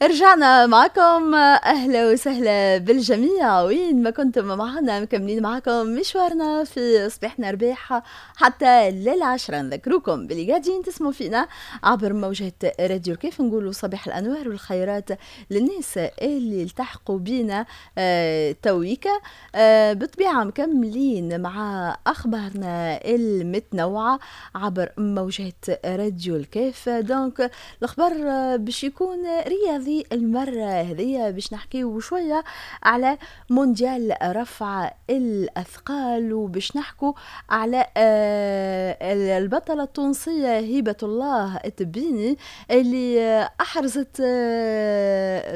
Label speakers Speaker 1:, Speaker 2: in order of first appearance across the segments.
Speaker 1: رجعنا معكم، اهلا وسهلا بالجميع وين ما كنتم معنا. مكملين معكم مشوارنا في صباحنا رباح حتى لل10. نذكركم باللي قاعدين تسمعوا فينا عبر موجات راديو كيف. نقولوا صباح الانوار والخيرات للناس اللي التحقوا بينا تويكا. بطبيعة مكملين مع اخبارنا المتنوعة عبر موجات راديو الكيف. donc الخبر باش يكون رياضي المرة هذه، باش نحكيو شوية على مونديال رفع الأثقال، وباش نحكو على البطلة التونسية هبة الله التبيني اللي أحرزت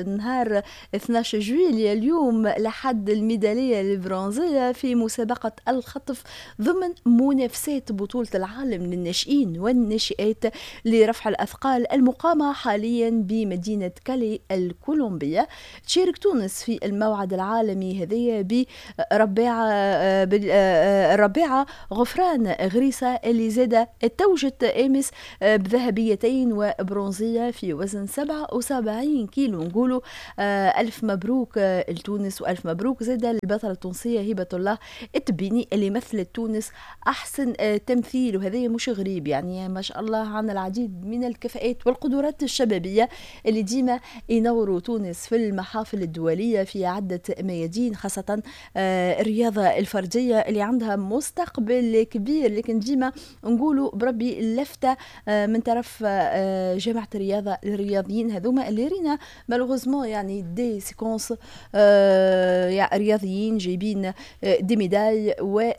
Speaker 1: نهار 12 جويلية اليوم لحد الميدالية البرونزية في مسابقة الخطف ضمن منافسات بطولة العالم للناشئين والناشئات لرفع الأثقال المقامة حاليا بمدينة كالي الكولومبية. تشارك تونس في الموعد العالمي هذه برباعة غفران غريسة اللي زاد توجت امس بذهبيتين وبرونزية في وزن 77 كيلو. نقولوا ألف مبروك لتونس، وألف مبروك زاد للبطلة التونسية هبة الله التبيني اللي مثلت تونس أحسن تمثيل، وهذا مش غريب، يعني ما شاء الله عنا العديد من الكفاءات والقدرات الشبابية اللي ديما ينوروا تونس في المحافل الدولية في عدة ميادين، خاصة الرياضة الفردية اللي عندها مستقبل كبير. لكن ديما نقولوا بربي لفتة من طرف جامعة الرياضة للرياضيين هذوما اللي رينا malheureusement يعني des séquences رياضيين جايبين des médailles و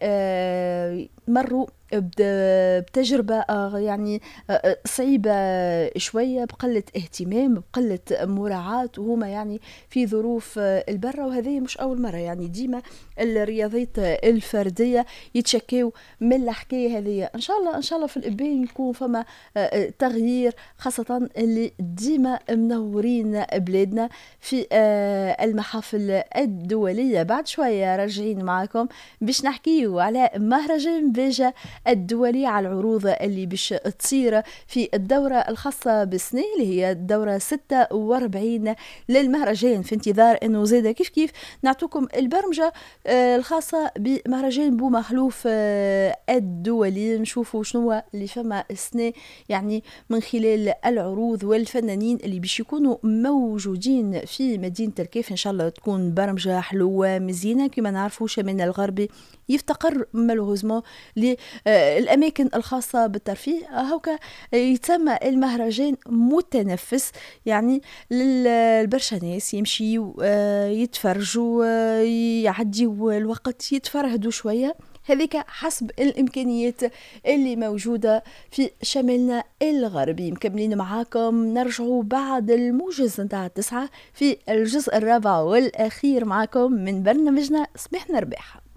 Speaker 1: مروا بتجربة يعني صعيبة شوية، بقلة اهتمام، بقلة مراعاة، وهما يعني في ظروف البرة. وهذه مش أول مرة، يعني ديما الرياضيات الفردية يتشكيو من الحكاية هذه. إن شاء الله إن شاء الله في الإبان يكون فما تغيير، خاصة اللي ديما منورين بلادنا في المحافل الدولية. بعد شوية راجعين معاكم باش نحكيو على مهرجان باجة الدولي، على العروض اللي باش تصير في الدورة الخاصة بالسنة اللي هي الدورة 46 للمهرجان، في انتظار انه زاد كيف كيف نعطوكم البرمجة الخاصة بمهرجان بو مخلوف الدولي، نشوفوا شنو اللي فما السنة يعني من خلال العروض والفنانين اللي باش يكونوا موجودين في مدينة الكيف. ان شاء الله تكون برمجة حلوة مزيانة. كما نعرفوا شمالنا الغربي يفتقر malheureusement للأماكن الخاصة بالترفيه، هوكا يتسمى المهرجان متنفس يعني للبرشا ناس يمشيوا يتفرجوا، يعديوا الوقت، يتفرهدوا شوية، هذيك حسب الإمكانيات اللي موجودة في شمالنا الغربي. مكملين معاكم، نرجعوا بعد الموجز نتاع 9 في الجزء الرابع والأخير معاكم من برنامجنا صباحنا رباح.